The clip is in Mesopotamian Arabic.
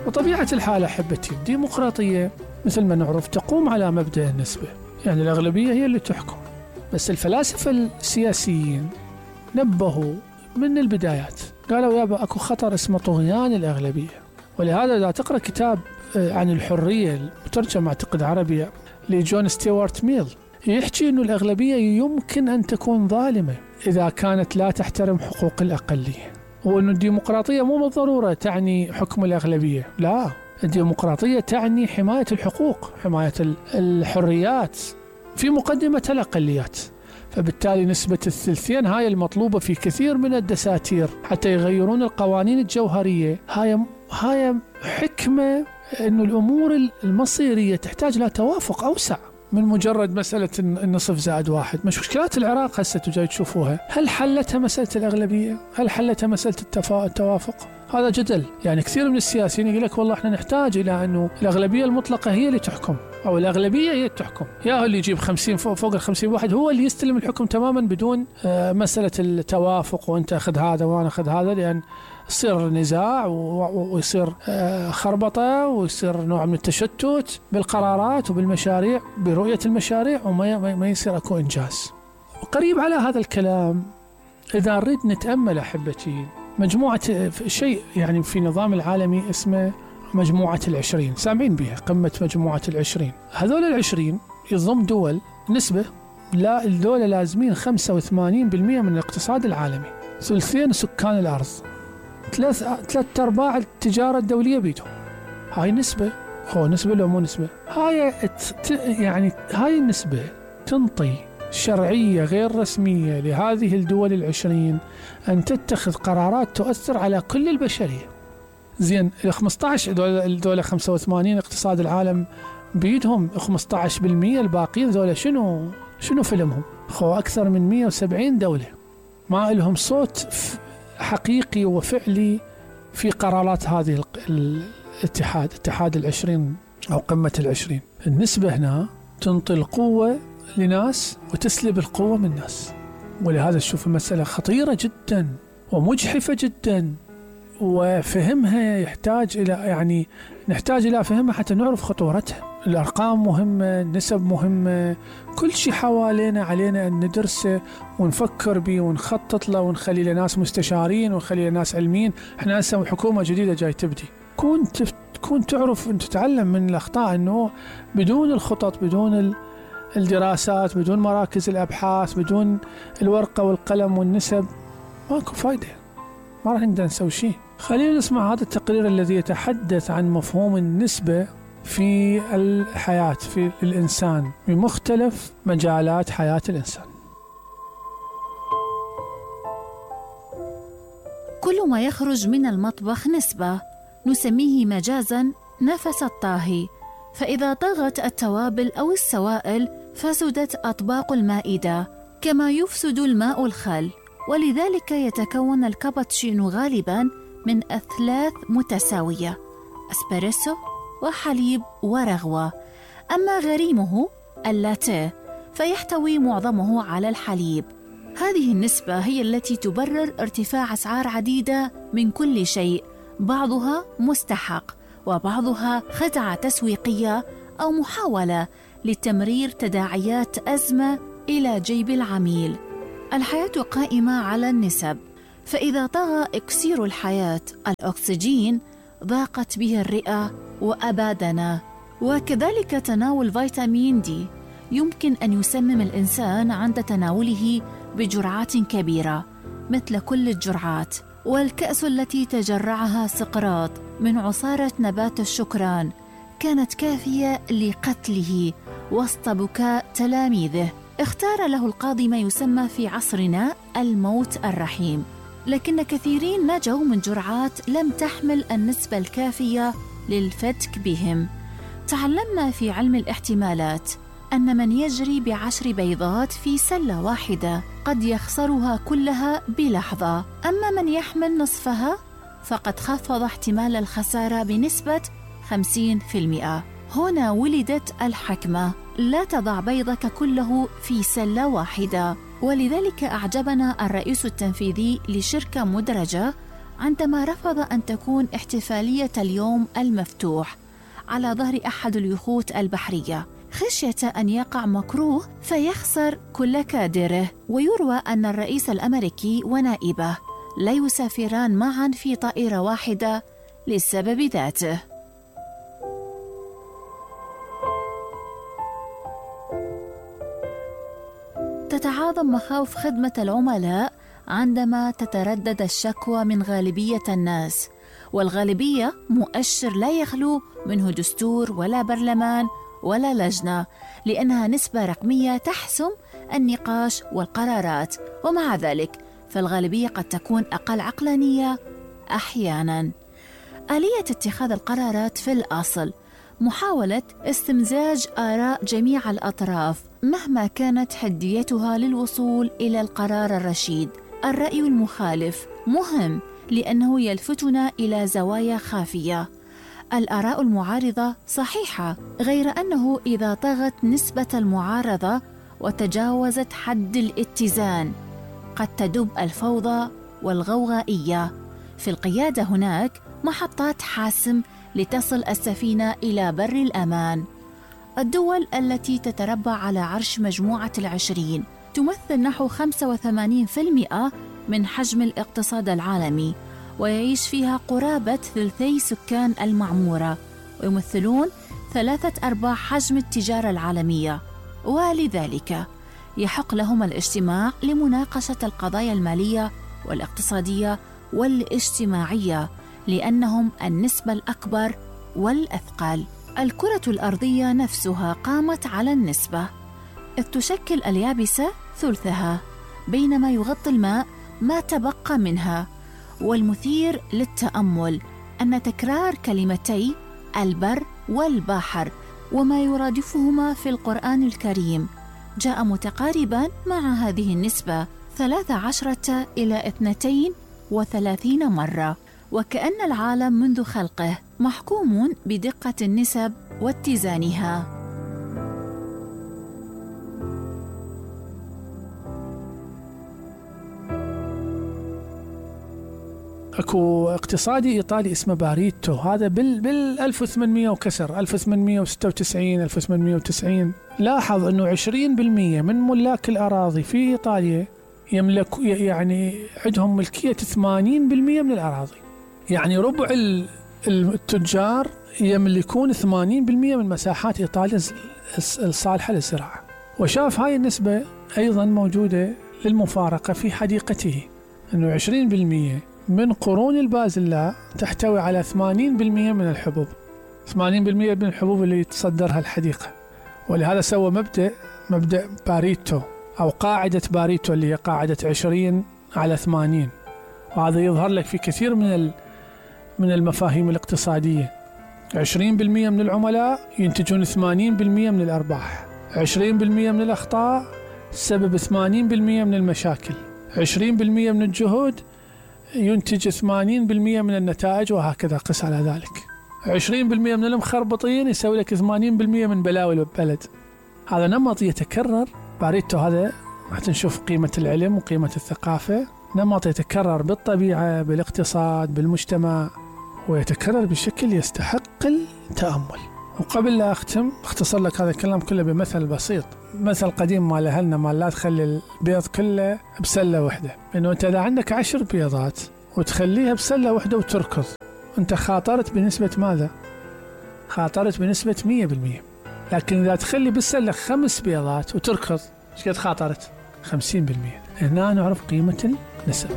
وطبيعة الحال أحبتي الديمقراطية مثل ما نعرف تقوم على مبدأ النسبة، يعني الأغلبية هي اللي تحكم. بس الفلاسفة السياسيين نبهوا من البدايات، قالوا يابا أكو خطر اسمه طغيان الأغلبية. ولهذا إذا تقرأ كتاب عن الحرية مترجم أعتقد عربي لجون ستيوارت ميل، يحكي أنه الأغلبية يمكن أن تكون ظالمة إذا كانت لا تحترم حقوق الأقلية، وأن الديمقراطية مو بالضرورة تعني حكم الأغلبية، لا، الديمقراطية تعني حماية الحقوق، حماية الحريات في مقدمة الأقليات. فبالتالي نسبة الثلثين هاي المطلوبة في كثير من الدساتير حتى يغيرون القوانين الجوهرية، هاي حكمة أن الأمور المصيرية تحتاج إلى توافق أوسع من مجرد مسألة النصف زائد واحد. مش مشكلات العراق هسه تجي تشوفوها، هل حلتها مسألة الأغلبية؟ هل حلتها مسألة التوافق؟ هذا جدل. يعني كثير من السياسيين يقول لك والله احنا نحتاج إلى أنه الأغلبية المطلقة هي اللي تحكم، أو الأغلبية هي تحكم، يا اللي يجيب 50 فوق 50 واحد هو اللي يستلم الحكم تماما بدون مسألة التوافق وأنت أخذ هذا وأنا أخذ هذا، لأن يصير نزاع ويصير خربطة ويصير نوع من التشتت بالقرارات وبالمشاريع، برؤية المشاريع، وما يصير أكو إنجاز. وقريب على هذا الكلام إذا نريد نتأمل أحبتي مجموعة شيء يعني في نظام العالمي اسمه مجموعة ال20، سامعين بها قمة مجموعة ال20. هذول ال20 يضم دول نسبة، لا الدول لازمين 85% من الاقتصاد العالمي، ثلثين سكان الأرض، 3/4 التجارة الدولية بيدهم. هاي نسبة، هو نسبة لو مو نسبة؟ يعني هاي النسبة تنطي شرعية غير رسمية لهذه الدول ال20 أن تتخذ قرارات تؤثر على كل البشرية. زين الدولة 85 اقتصاد العالم بيدهم 15%، الباقيين ذولا شنو فيلمهم؟ أكثر من 170 دولة ما لهم صوت حقيقي وفعلي في قرارات هذه اتحاد ال20 أو قمة ال20. النسبة هنا تنطي القوة لناس وتسلب القوة من ناس، ولهذا تشوف المسألة خطيرة جدا ومجحفة جدا، وفهمها نحتاج إلى فهمها حتى نعرف خطورتها. الأرقام مهمة، النسب مهمة، كل شيء حوالينا علينا أن ندرسه ونفكر به ونخطط له ونخلي له ناس مستشارين ونخلي له ناس علميين. احنا هسه حكومة جديدة جاي تبدي، كون تعرف أن تتعلم من الأخطاء، أنه بدون الخطط، بدون الدراسات، بدون مراكز الأبحاث، بدون الورقة والقلم والنسب ماكو فايدة، ما راح نقدر نسوي شيء. خلينا نسمع هذا التقرير الذي يتحدث عن مفهوم النسبة في الحياة، في الإنسان، بمختلف مجالات حياة الإنسان. كل ما يخرج من المطبخ نسبة، نسميه مجازاً نفس الطاهي، فإذا طغت التوابل أو السوائل فسدت أطباق المائدة، كما يفسد الماء الخل. ولذلك يتكون الكابتشينو غالباً من أثلاث متساوية، أسبريسو وحليب ورغوة. أما غريمه اللاتيه فيحتوي معظمه على الحليب. هذه النسبة هي التي تبرر ارتفاع أسعار عديدة من كل شيء، بعضها مستحق وبعضها خدعة تسويقية أو محاولة لتمرير تداعيات أزمة إلى جيب العميل. الحياة قائمة على النسب، فإذا طغى إكسير الحياة الأكسجين ضاقت به الرئة وأبادنا. وكذلك تناول فيتامين دي يمكن أن يسمم الإنسان عند تناوله بجرعات كبيرة مثل كل الجرعات. والكأس التي تجرعها سقراط من عصارة نبات الشكران كانت كافية لقتله وسط بكاء تلاميذه. اختار له القاضي ما يسمى في عصرنا الموت الرحيم، لكن كثيرين نجوا من جرعات لم تحمل النسبة الكافية للفتك بهم. تعلمنا في علم الاحتمالات أن من يجري ب10 بيضات في سلة واحدة قد يخسرها كلها بلحظة، أما من يحمل نصفها فقد خفض احتمال الخسارة بنسبة 50%. هنا ولدت الحكمة: لا تضع بيضك كله في سلة واحدة. ولذلك أعجبنا الرئيس التنفيذي لشركة مدرجة عندما رفض أن تكون احتفالية اليوم المفتوح على ظهر أحد اليخوت البحرية خشية أن يقع مكروه فيخسر كل كادره. ويروى أن الرئيس الأمريكي ونائبه لا يسافران معا في طائرة واحدة للسبب ذاته. تتعاظم مخاوف خدمة العملاء عندما تتردد الشكوى من غالبية الناس، والغالبية مؤشر لا يخلو منه دستور ولا برلمان ولا لجنة، لأنها نسبة رقمية تحسم النقاش والقرارات، ومع ذلك فالغالبية قد تكون أقل عقلانية أحياناً. آلية اتخاذ القرارات في الأصل محاولة استمزاج آراء جميع الأطراف مهما كانت حديتها للوصول إلى القرار الرشيد. الرأي المخالف مهم لأنه يلفتنا إلى زوايا خافية. الآراء المعارضة صحيحة، غير أنه إذا طغت نسبة المعارضة وتجاوزت حد الاتزان قد تدب الفوضى والغوغائية. في القيادة هناك محطات حاسم لتصل السفينة إلى بر الأمان. الدول التي تتربع على عرش مجموعة ال20 تمثل نحو 85% من حجم الاقتصاد العالمي، ويعيش فيها قرابة ثلثي سكان المعمورة، ويمثلون 3/4 حجم التجارة العالمية، ولذلك يحق لهم الاجتماع لمناقشة القضايا المالية والاقتصادية والاجتماعية، لأنهم النسبة الأكبر والأثقل. الكرة الأرضية نفسها قامت على النسبة، إذ تشكل اليابسة ثلثها، بينما يغطي الماء ما تبقى منها. والمثير للتأمل أن تكرار كلمتي البر والبحر وما يرادفهما في القرآن الكريم جاء متقاربا مع هذه النسبة 13 إلى 32 مرة، وكأن العالم منذ خلقه محكوم بدقة النسب واتزانها. اكو اقتصادي ايطالي اسمه باريتو، هذا بال 1800 وكسر 1896 1890 لاحظ انه 20% من ملاك الاراضي في ايطاليا يملك، يعني عندهم ملكية 80% من الاراضي، يعني ربع التجار يملكون 80% من مساحات ايطاليا الصالحة للزراعة. وشاف هاي النسبة ايضا موجودة للمفارقة في حديقته، انه 20% من قرون البازلاء تحتوي على 80% من الحبوب، 80% من الحبوب اللي تصدرها الحديقة. ولهذا سوى مبدأ باريتو أو قاعدة باريتو اللي هي قاعدة 20/80. وهذا يظهر لك في كثير من المفاهيم الاقتصادية. 20% من العملاء ينتجون 80% من الأرباح، 20% من الأخطاء سبب 80% من المشاكل، 20% من الجهود ينتج 80% من النتائج، وهكذا قس على ذلك. 20% من المخربطين يسوي لك 80% من بلاوي البلد. هذا نمط يتكرر. باريتو هذا راح نشوف قيمة العلم وقيمة الثقافة، نمط يتكرر بالطبيعة بالاقتصاد بالمجتمع، ويتكرر بشكل يستحق التأمل. وقبل لا أختم اختصر لك هذا الكلام كله بمثل بسيط، مثل قديم مال أهلنا مال لا تخلي البيض كله بسلة واحدة، إنه أنت إذا عندك 10 بيضات وتخليها بسلة واحدة وتركض، أنت خاطرت بنسبة ماذا؟ خاطرت بنسبة 100%. لكن إذا تخلي بالسلة 5 بيضات وتركض، ايش قد خاطرت؟ 50%. هنا نعرف قيمة النسب.